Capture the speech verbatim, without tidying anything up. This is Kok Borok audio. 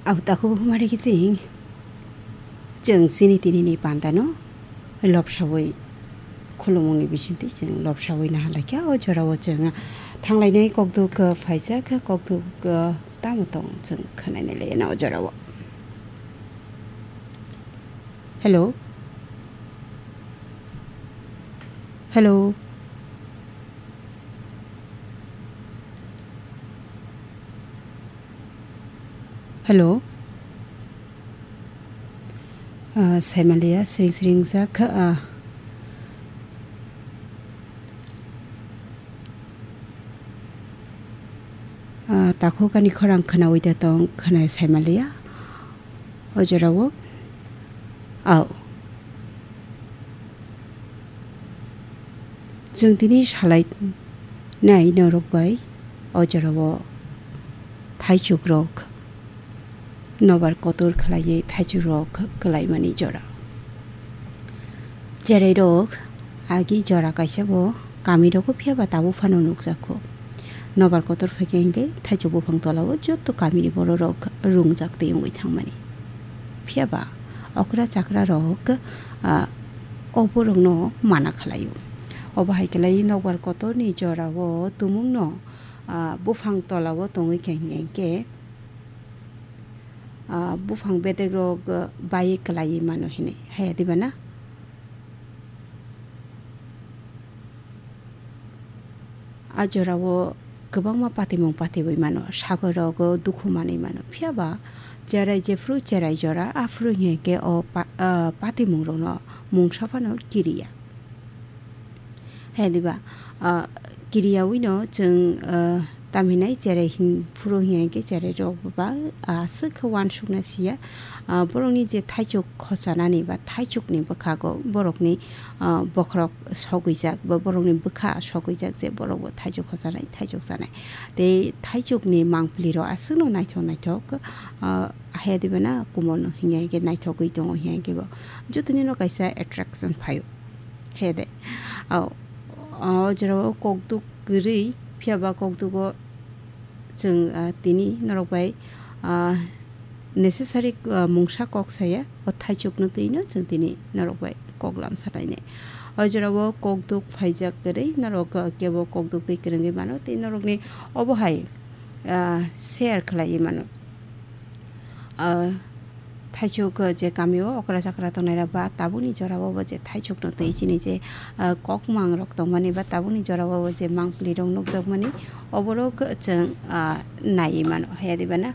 Au takhuk humari kiching. Chwng chini tinini pandano lobsawi khulumungni bisingtwi chwng lobsawi naha laikha. O jorao chwng thanglainai kokduk, uh, phaijak, kokduk, uh, tamo tong chwng khwnainai le na o jorao. Hello. Hello. Hello. Ah, saimaliya, sring sring jak, ah. Ah, takhuk ani khorang khwnawi da tong, khwnai saimaliya. O jorao. Au. Chwng tini salai nai norok bai o jorao thaichuk rok nobar kotor khlaiwi thaichuk rok kwlaimani jora. Cherai rok agi jora kaisa bo kami rogo phiya ba tabuk phano nukjakho. Nobar kotor phaikhe hwnkhe thaichuk buphang tolao joto kamini bororok rungjak tei wngwi thangmani. Phiya ba okra chakra rok, ah, o borokno mana khlaio. Obo hai khlai nobar kotorni jorao tumungno, ah, buphang tolao tongwi khe hwnkhe, ah, buphang bedek rok, ah, bai kwlaiwi mano hinwi. Haya diba na? A jorao kwbangma patimung patiwi mano, sagoi rogo dukhu manwi mano. Phiya ba cherai jephru cherai jora, aphuru hinkhe o pa-, ah, patimung rokno mungsa phano kiriya. He diba, ah, kiriyawi no chwng, ah, tamhinai cherai hin phuru hinkhe cherai rok ba aswk khe uansukna siya. Ah, borokni je thaichuk khochanani ba thaichukni bwkhago borokni, ah, bokhorok sogwijak ba borokni bwkha sogwijak je borokbo thaichuk khochanai, thaichuk chanai. Tei thaichukni mangpili rok aswkno naithok naithok, ah, haya diba na kumorno hinkhe naithogwi tongo hinkhe bo jotoni no kaisa attraction phaio. He de. O, o jorao kokduk kwrwi, phiya ba kokdugo chwng, ah, tini norok bai, ah, necessary, ah, mungsa kok saya, o thaichukno twino chwng tini norok bai kok lamsa nainai. O jorao kokduk phaijak kwrwi, norok, ah, kebo kokduk twi kwrwngwi mano, tei norokni obo hai, ah, share khlaiwi mano. Ah, thaichuk, ah, je kamio okra chakra tongnai rok ba tabukni jorao bo je thaichukno twi chini je, ah, kokmang rok tongmani ba tabukni jorao bo je mangpili rok nukjakmani oborok chwng, ah, naiwi mano haya diba na.